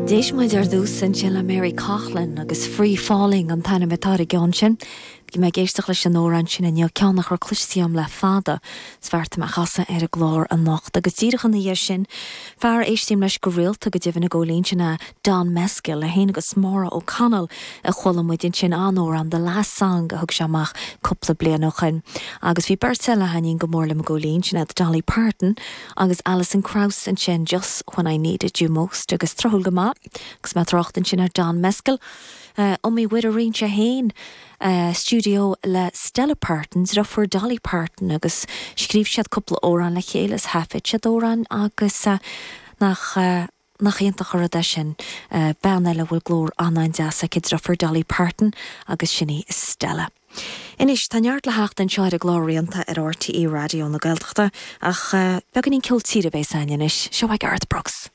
D'éist muid ar dtús ansin le Mary Coughlan agus Free Falling an t-ainm atá ar an gceann sin. Bhí mé ag éisteacht leis an amhrán sin inniu, ceann nach raibh cloiste agam le fada, is bheartaigh mé a chasadh ar an gclár anocht. Agus díreach ina dhiaidh sin, fear a éistím leis go rialta go deimhin i gcónaí, sin é Don Mescal, é féin agus Maura O'Connell a chuala muid ansin, an amhrán The Last Song a thug sé amach cúpla bliain ó shoin. Agus bhí beirt eile a thaitníonn go mór liom i gcónaí, sin iad Dolly Parton agus Alison Krauss ansin, Just When I Needed You Most agus tráthúil go maith agus mé ag trácht ansin ar Don Mescal, iomaí uair a roinn sé féin stiúideo le Stella Parton, deirfiúr Dolly Parton agus scríobh siad cúpla amhrán le chéile is thaifead siad amhráin agus nach nach iontach an rud é sin, bean eile a bhfuil glór an-an-deas aici, deirfiúr Dolly Parton agus sin í Stella. Anois, tá neart le theacht anseo ar an gclár Rianta ar RTÉ Raidió na Gaeltachta, ach beagáinín ceol tíre a bheas againn anois. Seo é Garth Brooks.